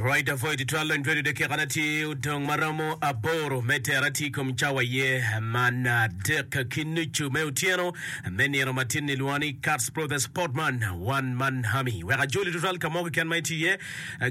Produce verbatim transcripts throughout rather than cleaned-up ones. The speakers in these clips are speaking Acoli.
Right avoid twal lony twedo dakika tye odong maromo aboro me tera tye kom cawa ye man adek ki nucu me otyeno me nino matin ni lwongo ni Cats Pro the Sportman one man army wek ajoli tutwal ka mo keken ma itye iye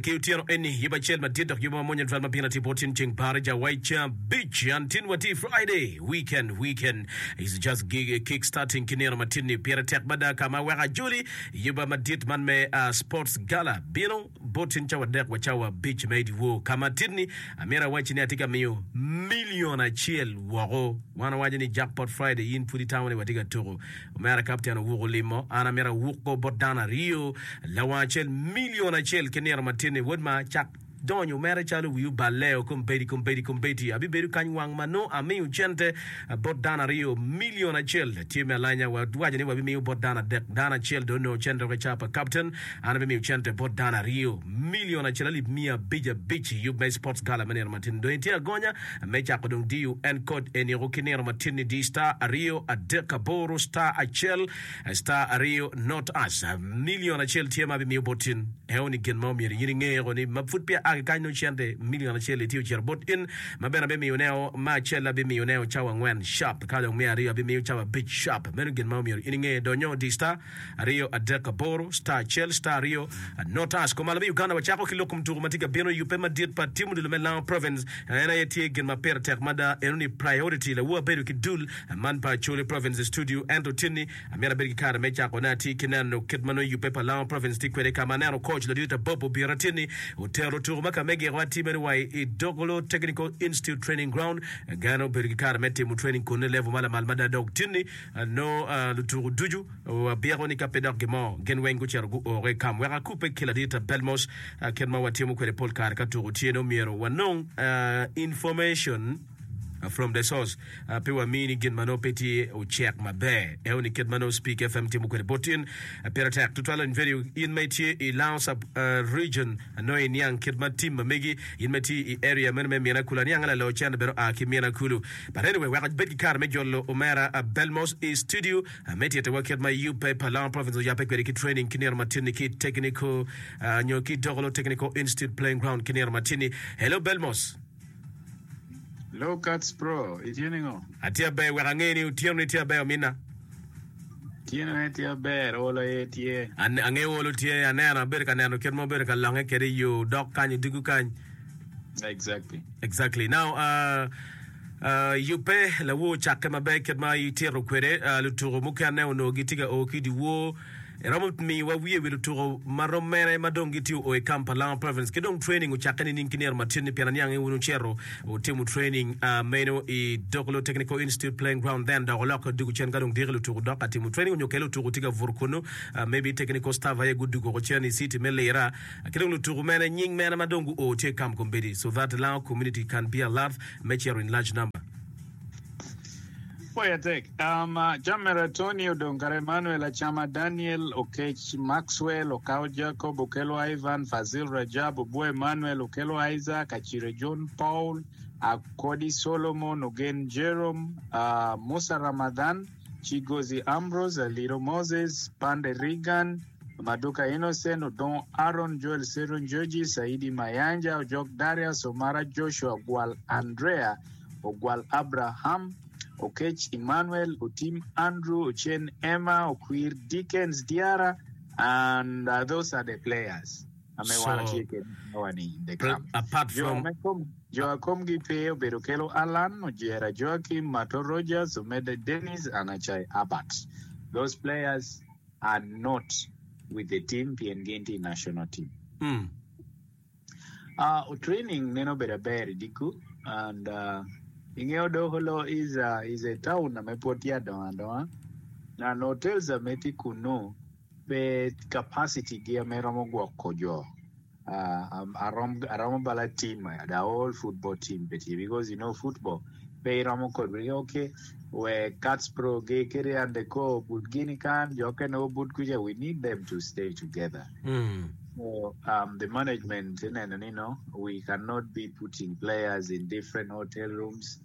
ki otyeno eni yub acel madit dok yub mamwonya tutwal ma bino tye bot tin ceng barija waica beach and tin watye Friday weekend weekend is just gig, kick starting ki nino matin ni pire tek mada ka ma wek ajoli yuba madit man me uh, sports gala bino bot tin cawa adek wa cawa abic me dyewor ka ma tin-ni amyero awacci ni atye ka miyo milion acel woko wan awaco ni jackpot friday in pud itamo ni watye ka tuko omera kapten owuko limo an amyero awuko bot dano aryo lawang acel milion acel ki nino matin-ni wod ma cak donyo mere calo wi oballe kombedi kombedi kombedi abibedo kany wang ma nongo amiyo cente bot dano aryo milion acel tye me alanya wawaco ni wabimiyo bot dano adek dano acel dong onongo cente woko i ca pa captain an abimiyo cente bot dano aryo milion acel alip miya abic abic i yub me sports gala me nino matin dong itye agonya me cako dong diyo en code eniko ki nino matin ni di star aryo adek aboro star acel star aryo not us milion acel tye ma abimiyo bot tin eo ni gin ma omyero in ingeo ni ma pud peya a ki kany nongo cente milion acel itye ocito bot in ma bene abimiyo neo ma acel abimiyo neo cawa angwen sharp ka dong me aryo abimiyo cawa abic sharp meno gin ma omyero in inge donyo di star aryo adek aboro star acel star aryo not us kumalo me Uganda wacako ki lok kom tuko ma tye ka bino yubbe madit pa tim odilo me Lango Province en aye tye gin ma pire tek mada eno ni priority lawu abedo ki dul man pa Acholi Province studio ento tinni amyero abed ki kare me cako ne atye ki neno kit ma nongo yubbe pa Lango Province tye kwede ka ma aneno coach ladit Abob obiro atinni otero tuko ma ka me giko atye meno wa i Dokolo Technical Institute Training Ground gano obedo ki kare me timo training kunne level ma lamal mada dok tinni no lutuko ducu wabyeko ni ka pe dok gimo gin weng gucito guoko i kam wek akube ki ladit Belmos kit ma watimo kwede pol kare ka tuko tye no myero wanong information from the source pe wamini gin ma nongo pe tye ocek maber eo ni kit ma nongo Speak FM timo kwede bot in pire tek tutwal in very in ma itye i Lango sub region nongo iniang kit ma tim ma megi in ma itye i area meno me Mina Kulu aniang lalo cente bene oa ki Mina Kulu but anyway wek abed ki kare me jolo omera Belmos i studio me titowa kit ma yubbe pa Lango Province oyabbe kwede ki training ki nino matin-ni ki technical nyo ki Dokolo Technical Institute playing ground ki nino matin-ni hello Belmos Hello Cats Pro, itye ningo? Atye aber wek ange ni otyeno ni tye aber ominna. Otyeno ne tye aber, olo aye tye. Ange olo tye, aneno abedo ka neno kit ma obedo ka longe kede i yo dok kany odiko kany. Exactly. Exactly. Now, uh, uh, yubbe lawo ocakke maber kit ma itito kwede uh, lutuko mukene onongo gitye ka o ki dyewor iromo miyowa wiye wi lutuko ma rom mene ma dong gitye o i camp pa Lango Province ki dong training ocakke nining ki nino matin ni pien aniang ni wun wucito wutimo training uh, meno i Dokolo Technical Institute playing ground then dok olokke odiko cen ka dong diki lutuko dok ka timo training onyo kele lutuko tye ka buto kunu uh, maybe technical staff aye gudugo oko cen i city me Lira ki dong lutuko mene nying mene ma dong guo tye i camp kombeddi so that Lango community can be alert me cito in large number. Poya tek. Um, Jamera Tony Odongkara Emmanuel Achama Daniel Okech Maxwell Okao Jacob Okelo Ivan Fazil Rajab Obwo Emmanuel Okelo Isaac Achire John Paul Akodi Solomon Ogen Jerome uh, Musa Ramadhan Chigozi Ambrose Aliro Moses Pande Regan Maduka Innocent Odong Aaron Joel Seron Georgie Saidi Mayanja Ojok Darius Omara Joshua Gwal Andrea Ogwal Abraham Okech Emmanuel Otim Andrew Ochen Emma Okwir Dickens Diara and uh, those are the players. Ame So, wan tye kede in the pr- camp. apart Jo from me kom jo a komgi pe obedo Kelo Alan, Ojera Joachim, Mato Rogers, Omede Dennis, and Achai Abbott. Those players are not with the team PNG national team. mm, Uh, training neno bedo aber i and uh, ingeo Dokolo is a, is a town ame pod tye adongo adonga and hotels ame tye kunu pe capacity gi ame romo gwoko jo uh, um, arom aromo bala team the whole football team pe tye because you know football pe iromo kod okay we Cats Pro ge kede and the co but gini kan jo kene obut kuja we need them to stay together mm, so um, the management neno ni no we cannot be putting players in different hotel rooms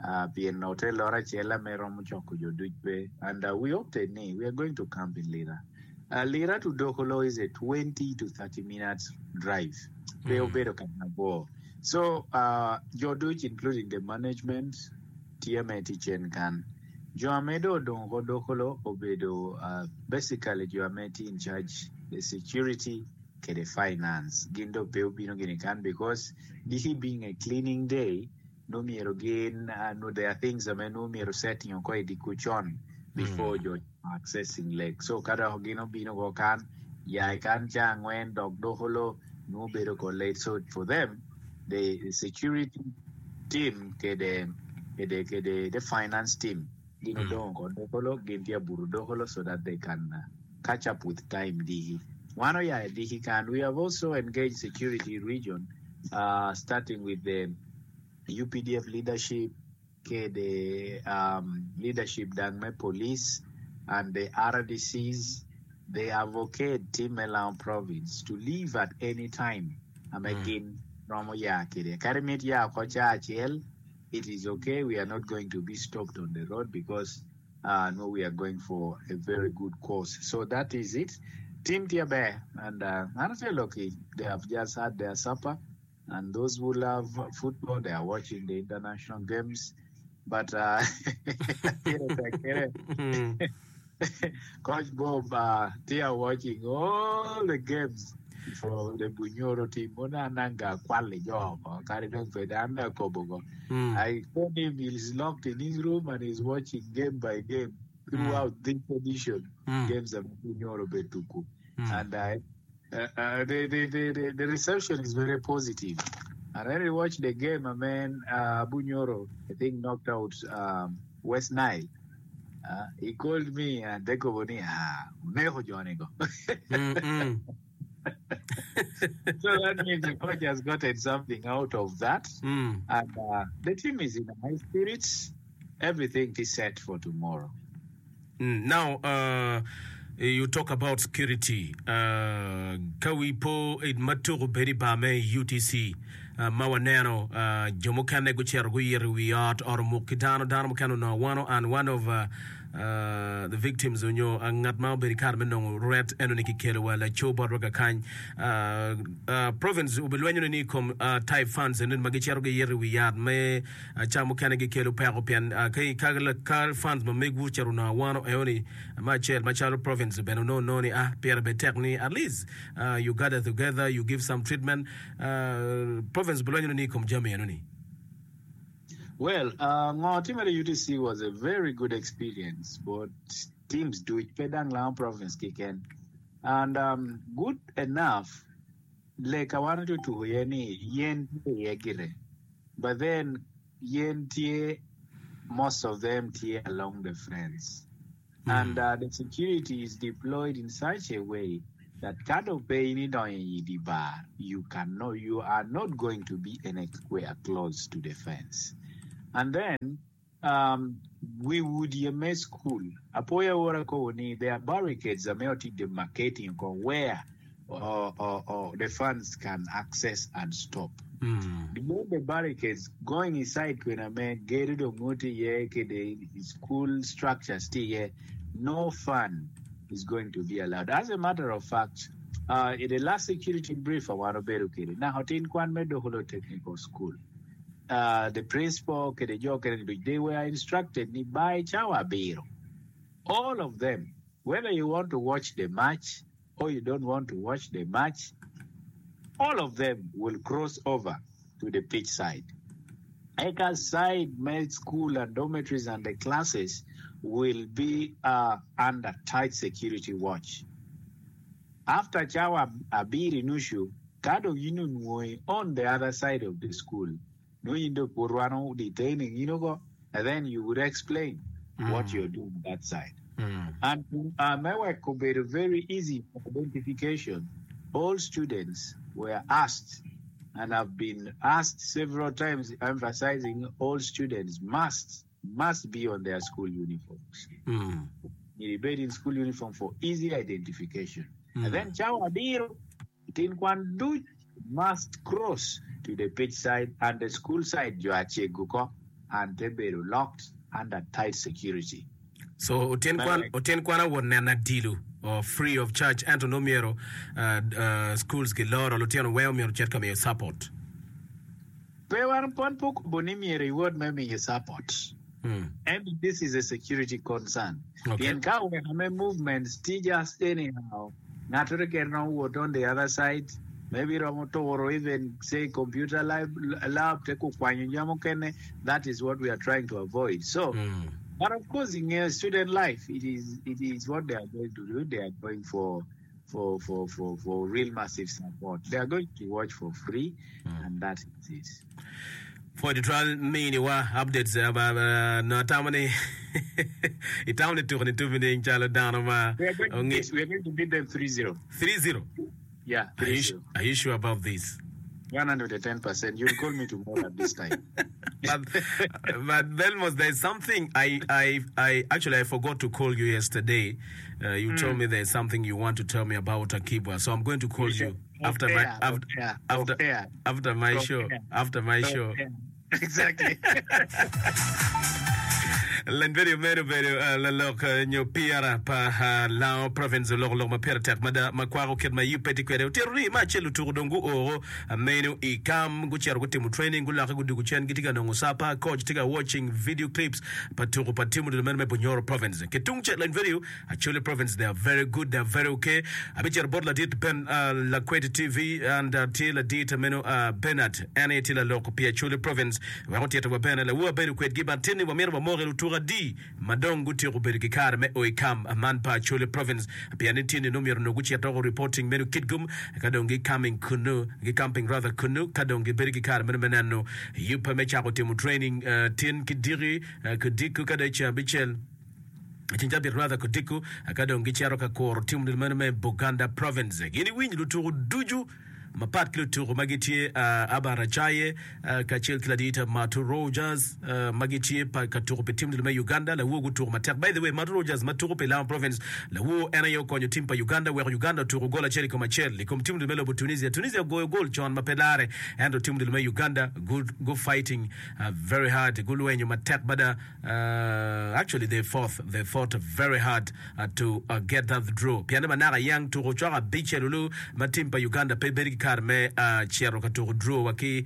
uh, pien hotel oro acel ame romo choko jo duc pe and uh, we opted ni we are going to camp in Lira Uh, Lira to Dokolo is a twenty to thirty minutes drive. Pe obedo ka mabor. So, uh, jo duc including the management tye me tye cen kan. Jo ame dong odong oko Dokolo obedo uh, basically jo ame tye in charge the security kede finance. Gin dong pe obino gini kan because diki being a cleaning day, nongo myero gin uh, no, there are things ame nongo myero setting oko i dye con before jo accessing lake. So ka dok gin obino ko kan, ya i kan ca angwen dok Dokolo nongo bedo ko late. So for them, the security team kede kede kede the finance team gin odong ko Dokolo, gin tye buto Dokolo so that they can uh, catch up with time diki. Wan oya i diki kan. We have also engaged security region, uh, starting with the U P D F leadership, kede um, leadership dang me police and the R D Cs. They advocate team me Lango Province to leave at any time. Ame gin romo ya kede. Kadi mit ya oko ca acel, it is okay. We are not going to be stopped on the road because uh, no, we are going for a very good cause. So that is it. Team tye ber and uh, honestly, lucky they have just had their supper. And those who love football, they are watching the international games. But uh, Coach Bob, uh, they are watching all the games for the Bunyoro team. Ona nanga kwali jo kari dong pede anda kobogo. I told him he's locked in his room and he's watching game by game throughout this edition games of Bunyoro Betuku. And I, uh, uh, the, the, the, the, the reception is very positive. And when we watched the game, I mean, uh, Bunyoro, I think, knocked out um, West Nile. Uh, he called me and they go, ah, uneho jonigo. Mm-mm. So that means the coach has gotten something out of that. Mm. And uh, the team is in high spirits. Everything is set for tomorrow. Mm. Now, uh, you talk about security. Uh, ka wi po i matuko bedo i bar me U T C uh, ma waneno uh, jo mukene gucito guyito i wi ot, ot omuk ki dano, dano mukene onongo awano, and one of uh, uh, the victims onyo uh, ngat ma obedo i kare me nongo ret eno ni kikelo wa laco botwa kakany. uh, uh, province obilwenyo ni i kom uh, type funds eno ma gicito giyito i wi yat me uh, ca mukene gikelo peko pien uh, ka, ka, ka funds ma megwu ocito onongo awano eno ni ma acel macalo province bene onongo nongo ni ah pire bed tek ni at least uh, you gather together, you give some treatment. uh, province bilwenyo ni i kom jami eno ni. Well, uh, ngo team at U T C was a very good experience, but teams do it pedang Lango Province kiken. And um, good enough, like I wanted to hear ni yen tye gire. But then yen tye, most of them tye along the fence. And uh, the security is deployed in such a way that kado pe ni donyo i bar, you cannot, you are not going to be anywhere close to the fence. And then um, we would yeme school. Apoya wora ko ni there are barricades ame oti demarcating ko where or, or, or the fans can access and stop. Mm. Beyond the barricades, going inside kwena me gedo dong ngoti ye kede school structures ti ye, no fan is going to be allowed. As a matter of fact, uh, in the last security brief I want to bedo kede, na hotin kwan me Dokolo Technical School. Uh, the principal kede jo kede they were instructed ni by cawa abiro. All of them, whether you want to watch the match or you don't want to watch the match, all of them will cross over to the pitch side. Eka side med school and dormitories and the classes will be uh, under tight security watch. After cawa abiro nucu, kado yinu nwoy on the other side of the school. No yindo purwano detaining you and then you would explain what you're doing that side. Mm. And uh, Mewek could be very easy for identification. All students were asked and have been asked several times, emphasizing all students must must be on their school uniforms. Mm. You be in school uniform for easy identification. And then cawa abiro, tin kwan duc must cross to the pitch side and the school side jo acego and they be locked under tight security. So otin kwan Correct. Otin kwan awot neno adilu. or free of charge ento nongo myero schools giloro lutino weng myero ocit ka miyo support. Pe wan wan pe okubo ni myero iwot me miyo support. Ento this is a security concern. Pien ka oweko me movements tye just anyhow, ngat keken romo wot on the other side, maybe romo turo even say computer lab, lab te kukwanyo jami mukene, that is what we are trying to avoid. So, but of course ingeyo student life, it is, it is what they are going to do, they are going for for, for, for, for real massive support. They are going to watch for free and that is it. Pwod tutwal miniwa updates nongo atamo ni itamo ni tuko ni tupi ni calo dano ma We are going to beat, we are going to beat them three zero. Three zero? Yeah, Are you, three zero. are you sure about this? one hundred and ten percent. You'll call me tomorrow at this time. But, but Belmos, there's something I, I, I actually I forgot to call you yesterday. Uh, you told me there's something you want to tell me about Akibwa, so I'm going to call you after my after after, after my show. After my show. Exactly. Len video meno obedo lalok nyo P R pa Lango Province oloko lok ma pire tek mada ma kwako kit ma yub pe tye kwede. Otito ni me acel lutuku dong guoro meno i kam gucito gutimo training gulokke gudugo cen gitye ka nongo sapa. Coach tye ka watching video clips pa tuku pa tim odilo meno me Bunyoro Province. Ki tung cel len video Acholi Province they are very good they are very okay. Abicito bot ladit Ben Lakwed T V and tye ladit meno Bernard en aye tye lalok pi Acholi Province wek otito wa bene lawu abedo kwedgi but tin ni wamito wamoki lutuku adi ma dong gutyeko bedo ki kare me o i kam man pa Acholi Province pien ni tin ni nongo myero onongo gucit doko reporting meno kitgum ka dong gi coming kunu gi camping rather kunu ka dong gibedo ki kare meno me neno yubbe me cako timo training tin ki diki kudiko ka dong i ceng abicel ceng cabit rather kudiko ka dong gicito ka kuro tim meno me Buganda Province. Gin iwiny lutuku ducu mapat ki lutuku ma gitye Abar Acaye kacel ki ladit Matu Rogers ma gitye pa ka tuku pi tim me Uganda lawor gutuku matek. By the way, Matu Rogers ma tuku pi Lango Province lawor en aye okonyo tim pa Uganda weko Uganda otuku gol acel i kom acel i kom tim me lobo Tunisia. Tunisia ogoyo gol con ma pe lare ento tim me Uganda gu, gu fighting very hard gulwenyo matek mada. Actually they fought, they fought very hard to get that draw pien ni manaka yang tuku cok abicel olu ma tim pa Uganda pe bedo ki kare me cito ka tuku draw wa ki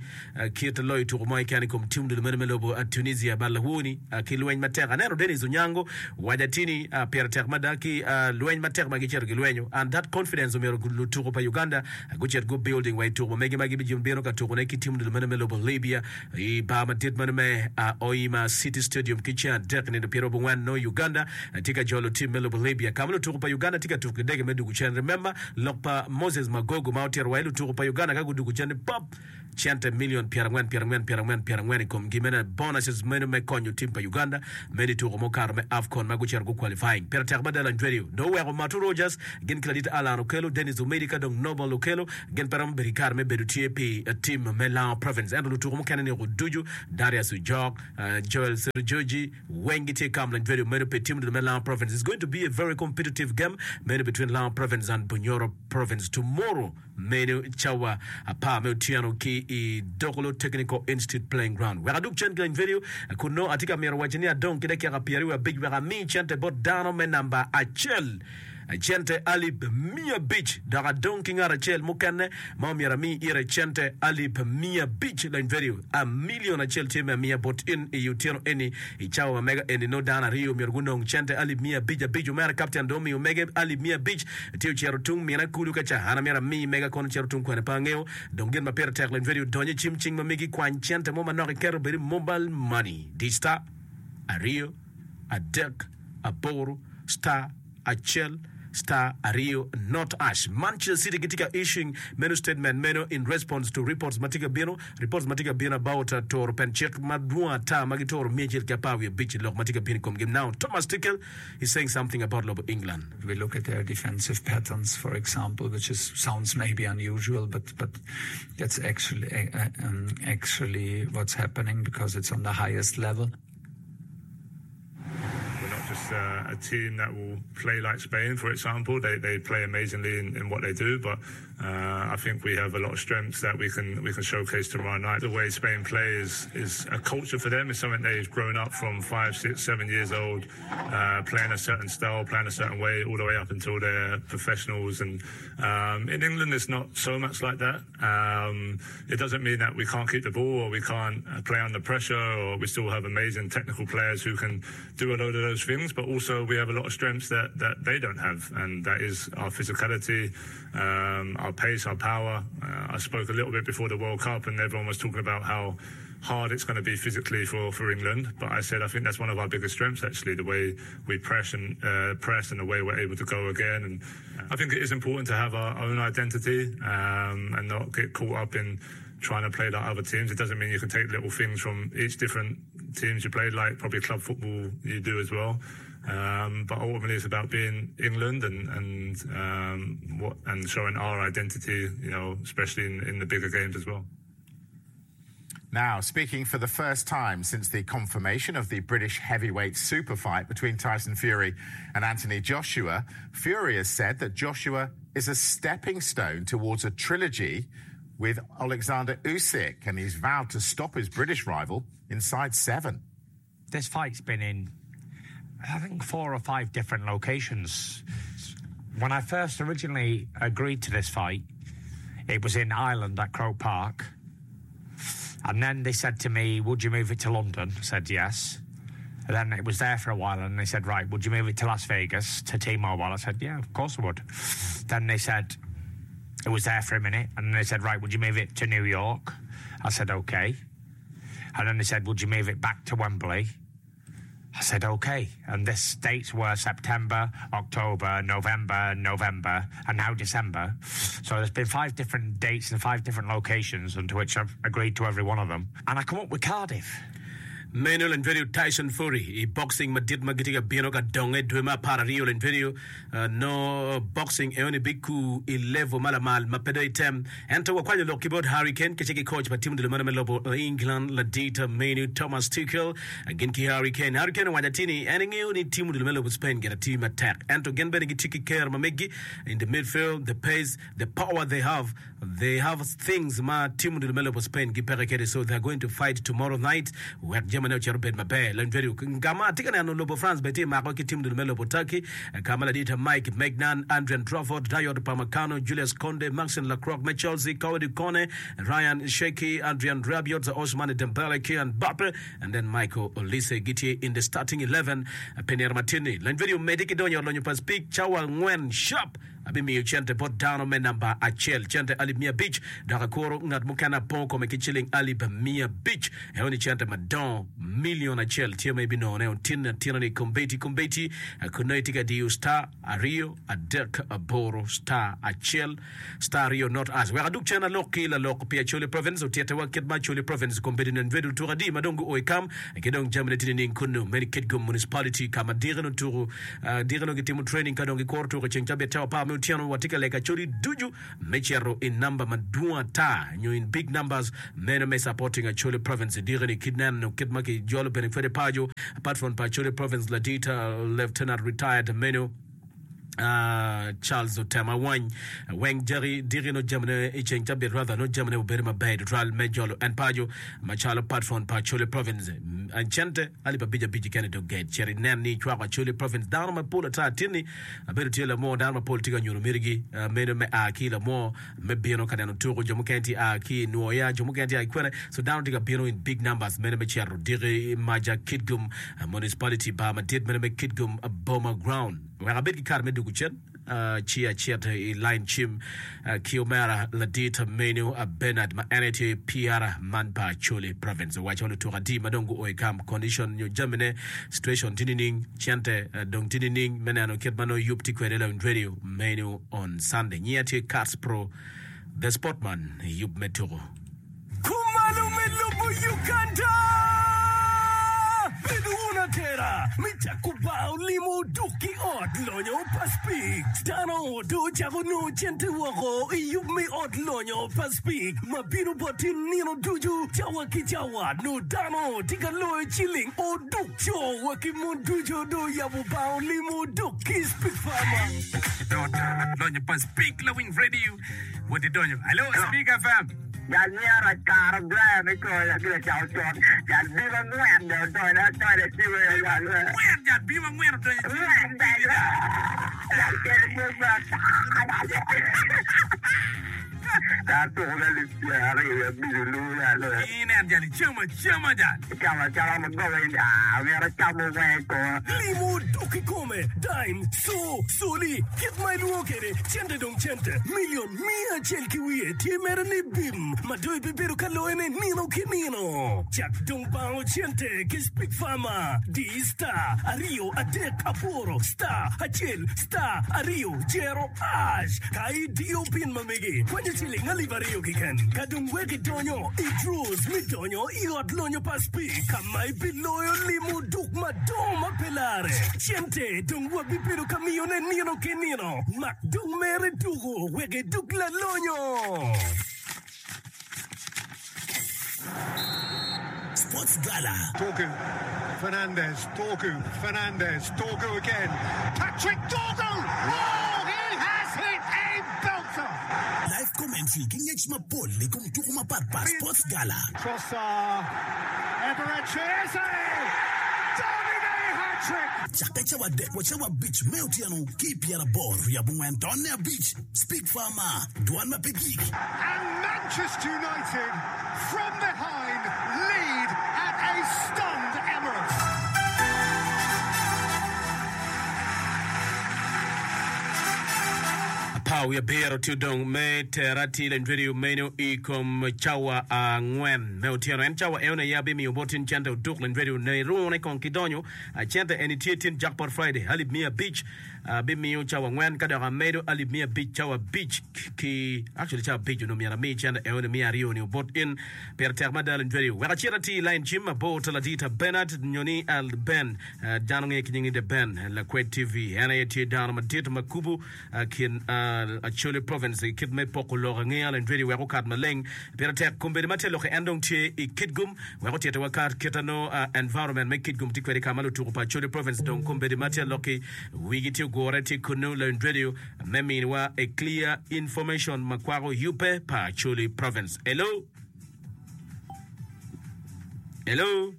kit loyo tuku mo keken i kom tim dul meno me lobo Tunisia but lawoni ki lweny matek aneno Dennis Onyango waco atini pire tek mada ki lweny matek ma gicito gilwenyo and that confidence omyero lutuku pa Uganda gucit gu building wa i tuku ma megi ma gibino ka tukune ki tim dul meno me lobo Libya i bar madit meno me Hoima City Stadium ki ceng adek nino pyeraryo abongwen nongo Uganda tye ka jolo tim me lobo Libya ka ma lutuku pa Uganda tye ka tuku ki dege me dugu cen. Remember lok pa Moses Magogo ma otito wa i lutuku pa Uganda ka gudugu cen ni pop cente million pyerangwen pyerangwen pyerangwen pyerangwen i komgi meno bonuses meno me konyo tim pa Uganda meno i tuku mukato me AFCON ma gucito gu qualifying. Pire tek mada Lanjwedio dong oweko Matu Rogers gin ki ladit Allan Okello, Dennis Omedi ka dong Noble Okello gin pe romo bedo ki kare me bedo tye pi tim me Lango Province ento lutuku mukene ni ducu Darius Ojok, Joel Serujoji weng gitye kam Lanjwedio meno pi tim me Lango Province. It's going to be a very competitive game meno between Lango Province and Bunyoro Province tomorrow meno cawa apar me otyeno ki i Dokolo Technical Institute playing ground. Wek adug cen ki Lanjwedio kun nongo atye ka mito waco ni adong ki dakika pyeraryo abic wek ami cente bot dano me namba acel cente alip miya abic dok adong ki ngat acel mukene ma omyero ami ire cente alip miya abic Lanjwedio a million acel tye me amiya bot in i otyeno eni i cawa ma mega eni nongo dano aryo myero gunong cente alip miya abic abic omera kapten dong omiyo mege alip miya abic tye ocito tung mina kulu ka ca an amyero ami mega kono cito tung kwene pe angeyo dong gin ma pire tek Lanjwedio donyo i cim cing ma megi kwany cente mo manok iketo bedo mobile money di star aryo adek aboro star acel star aryo not hash. Manchester City gitye ka issuing meno statement meno in response to reports ma tye ka bino reports ma tye ka bino about turo pen cik madwong ata ma gituro miya acel ki apar wiye abic i lok ma tye ka bino i komgi. Now Thomas Tuchel is saying something about lobo England. We look at their defensive patterns, for example, which is, sounds maybe unusual, but, but that's actually, uh, um, actually what's happening because it's on the highest level. We're not just against uh, a team that will play like Spain, for example. They, they play amazingly in, in what they do, but uh, I think we have a lot of strengths that we can we can showcase tomorrow night. The way Spain play is, is a culture for them. It's something they've grown up from five, six, seven years old, uh, playing a certain style, playing a certain way, all the way up until they're professionals. And um, in England, it's not so much like that. Um, it doesn't mean that we can't keep the ball or we can't uh, play under pressure, or we still have amazing technical players who can do a load of those things. But also, we have a lot of strengths that, that they don't have, and that is our physicality, um, our pace, our power. Uh, I spoke a little bit before the World Cup, and everyone was talking about how hard it's going to be physically for, for England. But I said I think that's one of our biggest strengths, actually, the way we press and uh, press and the way we're able to go again. And I think it is important to have our own identity um, and not get caught up in trying to play like other teams. It doesn't mean you can take little things from each different teams you play, like probably club football you do as well. Um, but ultimately, it's about being England and and um, what and showing our identity, you know, especially in, in the bigger games as well. Now, speaking for the first time since the confirmation of the British heavyweight super fight between Tyson Fury and Anthony Joshua, Fury has said that Joshua is a stepping stone towards a trilogy with Alexander Usyk, and he's vowed to stop his British rival inside seven. This fight's been in, I think, four or five different locations. When I first originally agreed to this fight, it was in Ireland at Croke Park. And then they said to me, would you move it to London? I said, yes. And then it was there for a while, and they said, right, would you move it to Las Vegas, to T-Mobile? I said, yeah, of course I would. Then they said, it was there for a minute, and they said, right, would you move it to New York? I said, okay. And then they said, would you move it back to Wembley? I said, okay. And this dates were September, October, November, November, and now December. So there's been five different dates and five different locations, and to which I've agreed to every one of them. And I come up with Cardiff. Meno Lentvedio Tyson Fury i boxing madit ma gitye ka bino ka donge dwe me apar aryo Lentvedio uh, no boxing eoni biku i level ma lamal ma pe dong item ento wakwanyo lok ki bot Harry Kane kece ki coach pa tim odilo meno me lobo England ladit menu Thomas Tuchel gin ki Harry Kane Harry Kane owaco atir ni en ingeyo ni tim odilo me lobo Spain gin tye matek ento gin bene gitye ki ker ma megi in the midfield the pace the power they have they have things ma tim odilo me lobo Spain gipeke kede so they are going to fight tomorrow night wek jamane ocito bed maber Lentvedio kama atye ka neno lobo France bene tye mako ki tim odilo me lobo Turkey kama ladit Mike Maignan Adrien Trafford Dayot Upamecano Julius Kounde Maxence Lacroix me Chelsea Kouadio Kone Ryan Cherki Adrien Rabiot Ousmane Dembele Kylian Mbappe and then Michael Olise gitye in the starting eleven pi nino matini Lentvedio medi ki donyo lonyo pa Speke cawa angwen sharp abimiyo cente bot dano me namba acel cente alip mia abic dok akuro ngat mukene apongo kome ki ciling alip mia abic eoni cente madongo milion acel tye ma ibinongone otinne atina ni kombeti kombeti kun nongo itye ka diyo star aryo adek aboro star acel star aryo not as wek aduk cen alok ki lalok pi Acholi Province otyettewa kit ma Acholi Province kombedi nen vedo tuko adi ma dong guo i kam ki dong jamine tye nining kunnu meni Kitgum Municipality ka ma dikeno tuko uh, dikeno gitimo training ka dong gikuro tuko ceng cabit cawa apar me otyeno watye ka lego Acholi ducu me cito i namba madwong ata nyo in big numbers meno me supporting Acholi Province dikeni kit neno kit ma kijolo bene kwede paco apart from pa Acholi Province ladit uh, Lieutenant retired meno Uh, Charles Otema Wany weng jaki diki no jamine i ceng cabit rather no jamine obedo maber tutwal me jolo en paco macalo patron pa Acholi Province cente alip abic abic kene dong get cito inen ni icwako Acholi Province dano mapol ata tinni abedo tye lamo dano mapol tye ka nyuto mitigi uh, meno me a ki lamo me bino ka neno tuko jo mukene tye a ki Nwoya jo mukene tye a ki kwene so dano tye ka bino in big numbers meno me cito diki maja Kitgum uh, Municipality bar madit meno me Kitgum uh, Boma Ground wek abed ki kare me dugu cen uh, ci acit i line cim uh, ki omera ladit menu uh, Bernard ma en tye P R man pa Acholi Province owaco lutuko adi ma dong guo i kam condition nyo jamine situation tye nining cente uh, dong tye nining me neno kit ma nongo yub tye kwede lawiny radio menu on Sunday nyinga tye Cats Pro the Sportman yub me tuko Kumalo me lobo Uganda! Bedo wun atera me cako bar limo duk ki ot lonyo pa Speke. Dano dong ocako nongo cente woko i yub me ot lonyo pa Speke ma bino boti nino ducu cawa ki cawa. Nongo dano tye ka loyo ciling oduk co wa ki mon ducu dong oyabo bar limo duk ki Speke Pharma. Lonyo pa Speke lawiny radio wot idonyo. Hello Speke F M. Jal myero akaro Brian i kore gire cako con. Jal bim angwen dong odonyo adonyo i ciwe jal. Angwen jal bim angwen odonyo i ciwe. Angwen jal. Jal kelo pwony ma Jal tuko me alip pyera aryo wiye abic olu jal. Inen jal icamo acama jal. Icamo acama ma goba in ah myero acamo weng i koma. Limo dok i kome, dime, co, coli, kit ma ilwongo kwede, cente dong cente, milion miya acel ki wiye tye mere ni bim ma dong ibibedo ka loyone nino ki nino. Cak dong bango cente ki Speke Pharma. Di star aryo adek aboro star acel star aryo jero hash ka idiyo pin ma megi kwanyo ciling alip aryo keken. Ka dong wek idonyo i draws me donyo i ot lonyo pa Speke ka ma ibiloyo limo duk madongo ma pe lare. Cente dong wabibedo ka miyone nino ki nino. Mak dong mere tuko wek iduk lalonyo. Sports Gala. Dorgu, Fernandez, Dorgu, Fernandez, Dorgu again. Patrick Dorgu! Oh, he has hit a belter! Live commentary ki ngec mapol i kom tuko mapatpat. Sports Gala. Trossard, Eberechi Eze! Davide hat-trick! Cakke cawa adek wa cawa abic me otyeno ki i pyeraboro wiye abongwen tonne abic. Speke Pharma, dwan ma pe gik. And Manchester United from behind lead at a stunned Emirates. Apar wiye abiro tye odong me tera tye lany radio meno i kom cawa angwen me otyeno. En cawa eno aye abimiyo bot tin cente oduk lany radio ne irune kong ki donyo. Cente eni tye tin Jackpot Friday alip miya abic abimiyo cawa angwen ka dok amedo alip miya abic cawa abic ki actually cawa abic onongo myero ami cente eno ni miya aryo ni obot in. Pire tek mada lany radio. Wek acit ati i line cim abor ta ladita Bernard nyo ni Al Ben dano nge ki nying ni The Ben Lakwed T V en aye tye dano madit ma kubo kin Acholi Province i kit me poko lok angeya lany radio wek okat maleng. Pire tek kombeddi ma tye lokke en dong tye i Kitgum wek otyetowa kat kit ano environment me Kitgum tye kwede ka ma lutuku pa Acholi Province dong kombeddi ma tye lokki wigi tye ogure tye kunnu lany radio me miniwa a clear information ma kwako yubbe pa Acholi Province. Hello. Hello.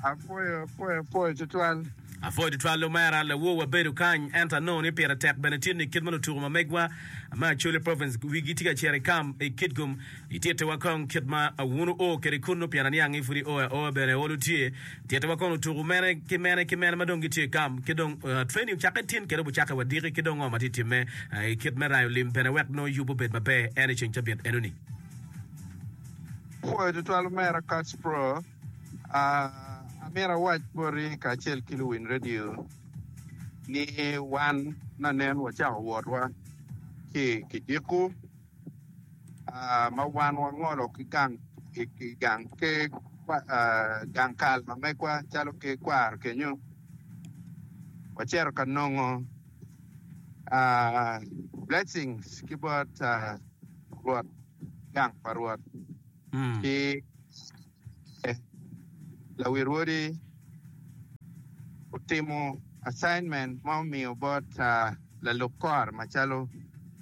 Apwoyo, apwoyo, apwoyo tutwal. Apwoyo tutwal omera lawor wabedo kany ento anongo ni pire tek bene tye ni kit ma lutuku ma megwa me Acholi Province wigi tye ka cito i kam i Kitgum itittiwa kong kit ma wun wuo kwede kunnu pien aniang ni pud io aoa bene olo tye tittiwa kong lutuku mene ki mene ki mene ma dong gitye i kam ki dong training ocakke tin kede obucakke wadiki ki dong ngo ma tye timme i kit me rayo lim bene wek nongo yub obed maber en i ceng cabit enoni. Apwoyo tutwal omera Kacpro. Amito awac boti kacel ki luwiny redio ni wan nanen wacako wotwa ki i kidiko ma wan wangolo ki gang gang kal ma megwa calo ki kwaro kenyo wacito ka nongo blessings ki bot Rwot gang pa Rwot ki Lawi rwodi otimo assignment ma omiyo bot lalub kore macalo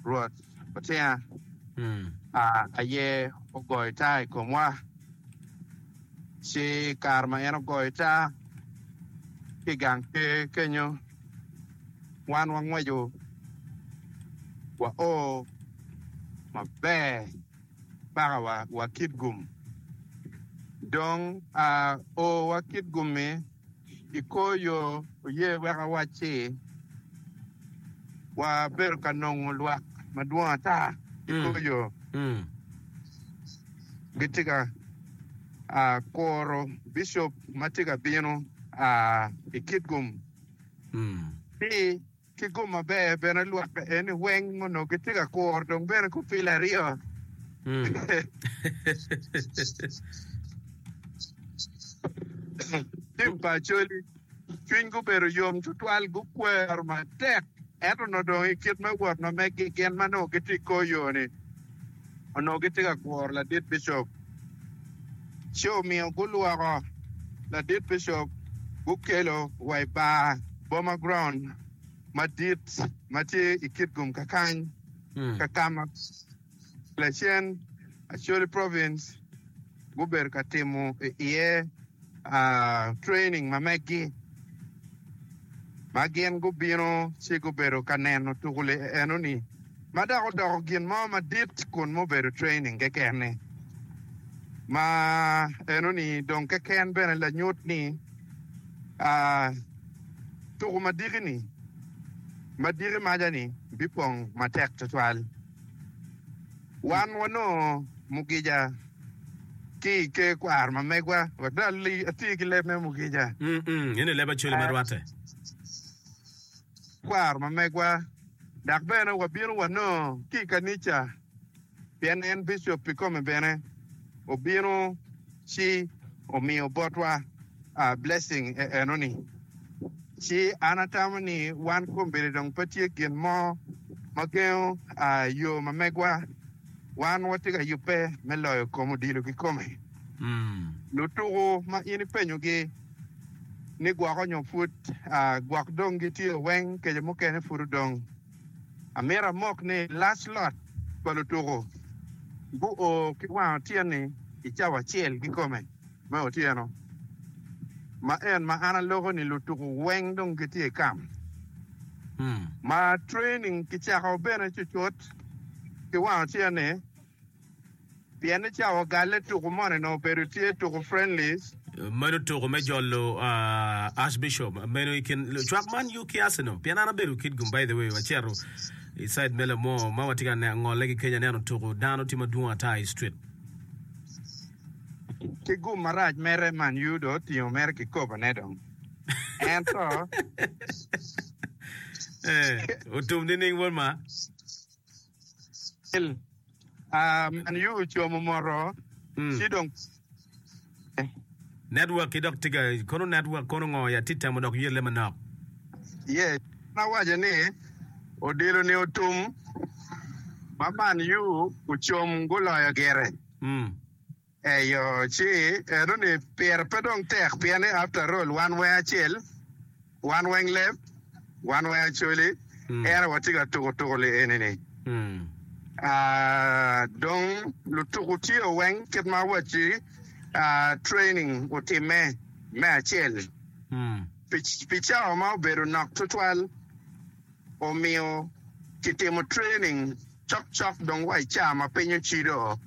Rwot Otinga aye ogoyo taa i komwa. Ci kare ma en ogoyo taa ki i gang ker kenyo, wan wangweco wao maber paka wa, wa Kitgum. Dong a o wa Kitgum-mi, i kor yo oye wek awacci, wabedo ka nongo lwak madwong ata i kor yo. Gitye ka a kuro bicop ma tye ka bino a i Kitgum. Ci Ki gum maber bene lwak eni weng onongo gitye ka kuro dong bene gupilo aryo. Tim pa Acholi cwiny gubedo yom tutwal, gukwero matek, ento onongo dong i kit me wot ma meggi gin ma nongo gitye i kor yo-ni onongo gitye ka kuro ladit bicop. Ci omiyo gulwoko ladit bicop gukelo wa i bar Boma Ground madit ma tye i Kitgum kakany ka ka ma lacen Acholi Province gubedo ka timo iye training ma meggi ma gin gubino ci gubedo ka neno tuku enoni ma dok odoko gin mo madit kun mubedo training keken-ni ma enoni dong keken bene lanyut ni tuku madiki-ni madiki maca-ni bipong matek tutwal. Wan wanongo mugija ki i ker kwaro ma megwa wek dong ati ki leb me mugija. Eni leb Acholi ma rwatte. Kwaro ma megwa dok bene wabino wanongo ki i kanica pien en bicop kikome bene obino ci omiyo botwa blessing enoni. Ci an atamo ni wan kombeddi dong pe tye gin mo ma gengo yo ma megwa. Wan watye ka yubbe me loyo kom odilo kikome. Lutuku ma in ipenyogi ni gwoko nyo pud gwok dong gitye weng kece mukene pud odong. Amito amok ni last lot pa lutuku guo ki wang otyeno-ni i cawa acel kikome me otyeno ma en ma an aloko ni lutuku weng dong gitye i kam ma training kicako bene cucut ki wang otyeno-ni pien ni cawa ogalle tuku moni onongo obedo tye tuku friendlies. Meno tuku me jolo Archbishop meno i kin cwak Man U ki Arsenal pien an abedo Kitgum by the way wacito i side me Lamor ma watye ka ngole ki kenya aneno tuku dano tye madwong ata i street. Ki gum marac mere Man U dong otingo mere kikobone dong ento. Eh, otum nining wod ma? Man U ocomo moto ci dong. Network ki dok tika kono network kono ngo ya tye temo dok yelle manok. Yes, an awaco ni odilo ni otum ma Man U ocom guloyo gire. Eyo, ci eno ni pire pe dong tek pien ni after all wan weng acel, wan weng leb, wan weng Acholi, ento watye ka tuko tuko li eni ni. Ah, dong lutuku tye weng kit ma awacci ah, training otimme me acel pi, pi cawa ma obedo nok tutwal omiyo kitimo training cokcok dong wa i caa ma piny ocido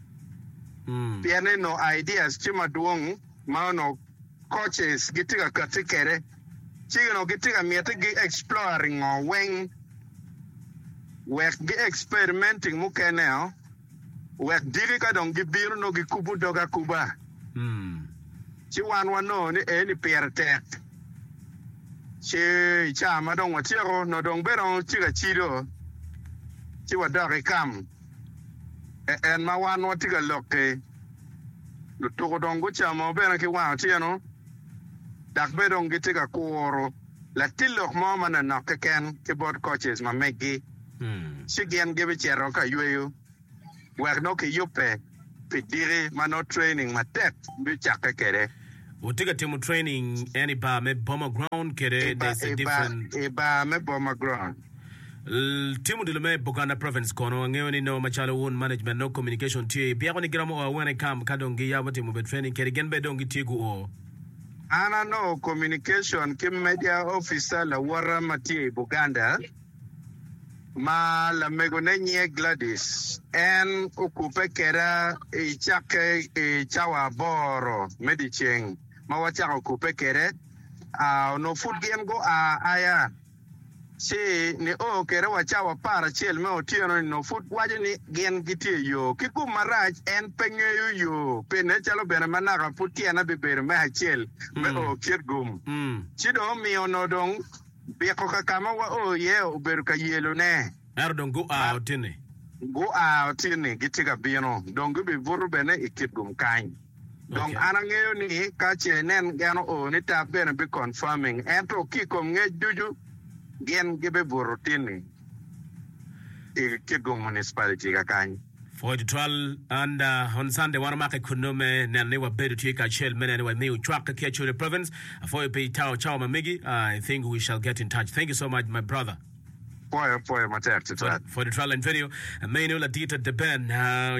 pien ni nongo ideas tye madwong ma onongo coaches gitye ka kati kwede ci onongo gitye ka miti gi exploring ngo weng wek gi experimenting mukene o wek diki ka dong gibino nongo gikubo dog akuba ci wan wanongo ni eni pire tek ci i caa ma dong watyeko nongo dong bene tye ka cido ci wadok i kam en ma wan watye ka lok-ki lutuku dong gucamo bene ki wang otyeno dok bene dong gitye ka kuro latin lok mo ma nanok keken ki bot coaches ma meggi ci gin gibicito ka yweyo wek nongo kiyubbe pi diki ma nongo training matek bicakke kwede. Wutye ka timo training en i bar me Boma Ground kede I bar, there's a i bar, different i bar me Boma Ground. Timo odilo me Buganda Province kono angeyo ni nongo macalo wun management nongo communication tye byeko ni giromo o awene i camp ka dong giyabo timo bed training kede gin bene dong gitye guo. An anongo communication ki media officer lawota ma tye i Buganda ma lamegone nyinge Gladys. En okubbe keda i cakke i cawa aboro me dyeceng ma wacako kubbe kede. Onongo pud gin gua aya ci nio kede wa cawa apar acel me otyeno-ni onongo pud waco ni gin gitye i yo. Ki gum marac, en pe ngeyo yo pi nen calo bene ma naka pud tyene bibedo me acel me o Kitgum. Ci dong omiyo onongo dong biko ka ka ma wao iye obedo ka yelone. Ento dong gua otinni. Gua otinni, gitye ka bino, dong gibibuto bene i Kitgum kany. Dong an angeyo ni ka ce inen en oo ni tap bene bi confirming ento ki i kom ngec ducu gin gibibuto tinni i Kitgum Municipality kakany. Pwoyo tutwal and on Sunday wan omake kunnu me neno ni wabedo tye kacel me neno ni wamiyo cwak ki Acholi Province. Apwoyo pi tawo cawa ma megi. I think we shall get in touch. Thank you so much my brother. Pwoyo pwoyo matek tutwal. Pwoyo tutwal Antonio. Meno ladit Deben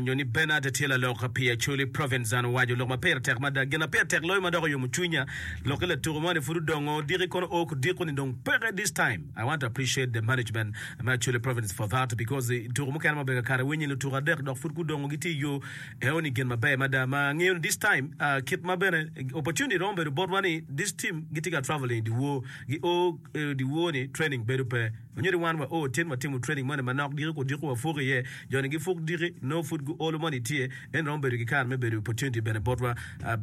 nyo ni Bernard tye lalok pi Acholi Province an owaco lok ma pire tek mada. Gin ma pire tek loyo ma dok oyomo cwinya lok ki latuko mo ni pud odongo diki kono o kudiko ni dong peke this time. I want to appreciate the management me Acholi Province for that because tuko mukene ma obedo kakare winyo ni lutuko adek dok pud gudongo gitye i yo eo ni gin maber mada ma angeyo ni this time kit ma bene opportunity romo bedo botwa ni this team gitye ka traveling i dyewor gi o dyewor ni training bedo pe Onyuto ni wan wa o tin watimo training moni manok diki kudiko wapuk iye. Jo ni gipuk diki nongo pud gu olo moni tye en romo bedo ki kare me bedo opportunity bene botwa.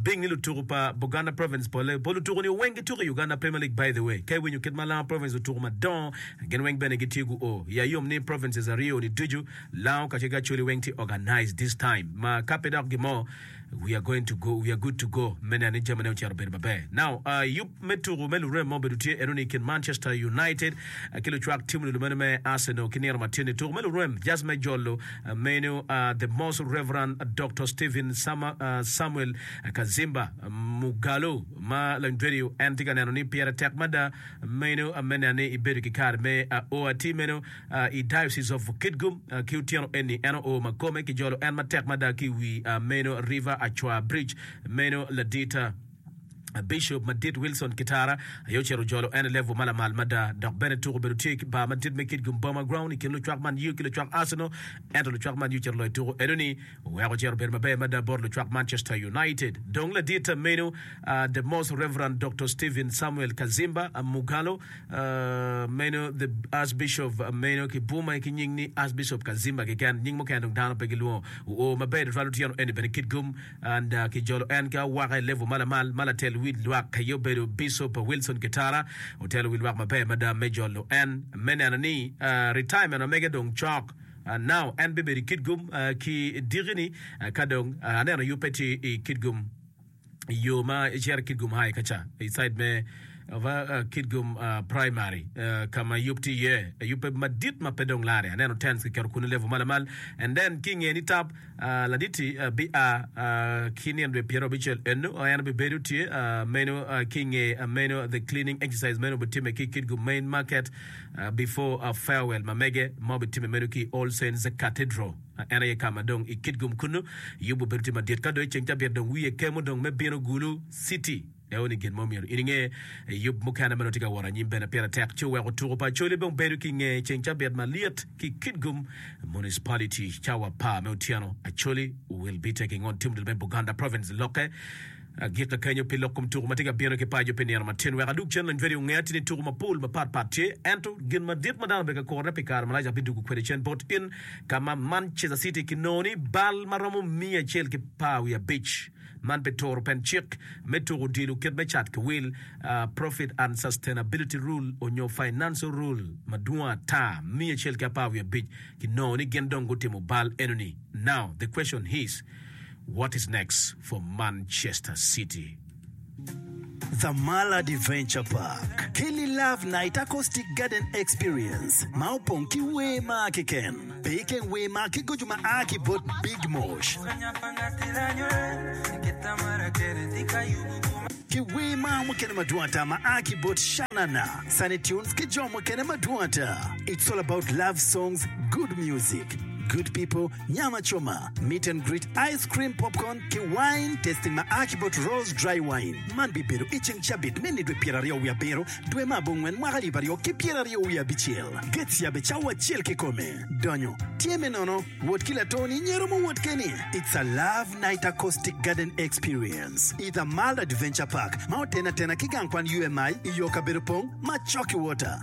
Bing ni lutuku pa Buganda province pole pol lutuku ni weng gituko i Uganda Premier League by the way ka iwinyo kit ma Lango province otuku madongo gin weng bene gitye gu o. Iya yom ni provinces aryo ni ducu Lango kacel ki Acholi weng tye organized this time ma ka pe dok gimo We are going to go, we are good to go me neno ni jamine ocito obedo maber. Now, uh, yub me tuku me lurem mo obedo tye eno ni i kin Manchester United uh, ki lucwak tim odilo meno me Arsenal ki nino matin-ni. Tuku me lurem just me jolo uh, meno uh, the Most Reverend Doctor Stephen Sama, uh, Samuel Kazimba Mugalu ma Lanyverio en tye ka neno ni pire tek mada meno uh, me neno ni ibedo ki kare me uh, o atir meno I Diocese of Kitgum ki otyeno eni en oo ma kome ki jolo en matek mada ki i wi meno River Achwa Bridge meno ladit Bishop madit Wilson Kitara aye ocito ojolo en i level ma lamal mada dok bene tuko obedo tye i bar madit me Kitgum Boma Ground i kin lucwak Man U ki lucwak Arsenal ento lucwak Man U ocito loyo tuko enoni oweko ocito obedo maber mada bot lucwak Manchester United. Dong ladit meno The Most Reverend Doctor Stephen Samuel Kazimba Mugalo Meno the Archbishop meno ki bwome ki nying ni Archbishop Kazimba keken, nying mukene dong dano pe gilwongo. Oo maber tutwal otyeno eni bene Kitgum and ki jolo en ki awaka i level ma lamal ma latel wi lwak aye obedo Bishop Wilson Kitara otelo wi lwak maber mada me jolo en me neno ni retirement ma mege dong cok. Now en bibedo i Kitgum ki diki ni ka dong aneno yubbe tye i Kitgum. I yo ma icito i Kitgum High ka ca i side me Kitgum Primary ka ma yub tye iye, yubbe madit ma pe dong larre. Aneno tents kiketo kunu level ma lamal and then ki inge ni tap ladit-ti bia ki nino dwe pyeraryo abicel eno en obibedo tye meno ki inge meno the cleaning exercise meno obitimme ki Kitgum Main Market before farewell ma mege ma obitimme meno ki All Saints Cathedral. En aye ka ma dong i Kitgum kunnu, Yubu obedo tye madit. Ka dong i ceng cabit dong wiye kemo dong me bino Gulu City. Eo ni gin mo myero in inge. Yub mukene ma nongo tye ka wot anyim bene pire tek ci oweko tuko pa Acholi bene obedo ki nge ceng cabit malyet ki Kitgum Municipality cawa apar me otyeno. Acholi will be taking on team me Buganda Province lokke. Agikka kenyo pi lok kom tuko ma tye ka bino ki paco pi nino matin. Wek adug cen lony vedi onge atir ni tuko mapol mapat pat tye, ento gin madit ma dano obedo ka kurone pi kare malac abidwogo kwede cen bot in ka ma Manchester City kinongo ni bal ma romo miya acel ki par wiye abic man pi turo pen cik me tuko odilo kit me cat ki wil, Profit and Sustainability Rule onyo Financial Rule madwong ata miya acel ki apar wiye abic kinongo ni gin dong gutimo bal enoni. Now the question is. What is next for Manchester City? The Mall Adventure Park keli Love Night Acoustic Garden Experience ma opong ki wer mar keken. Pe ikeng wer mar ki goco ma a ki bot Big Mosh. Ki wer mar mukene madwong ata ma a ki bot Shanana, Sunny Tunes ki jo mukene madwong ata. It's all about love songs, good music, good people, Nyama coma, meet and greet, ice cream, popcorn, ki wine tasting ma a ki bot Rose Dry Wine. Man bibedo i ceng cabit me nidwe pyeraryo wiye abiro, dwe me abongwen mwaka alip aryo ki pyeraryo wiye abicel. Gates yabe cawa acel kikome. Donyo tye me nono, wot ki latoni nyo iromo wot keni. It's a love night acoustic garden experience i The Mall Adventure Park ma otene atena ki gang kwan U M I i yo kabedo pong ma cok ki water.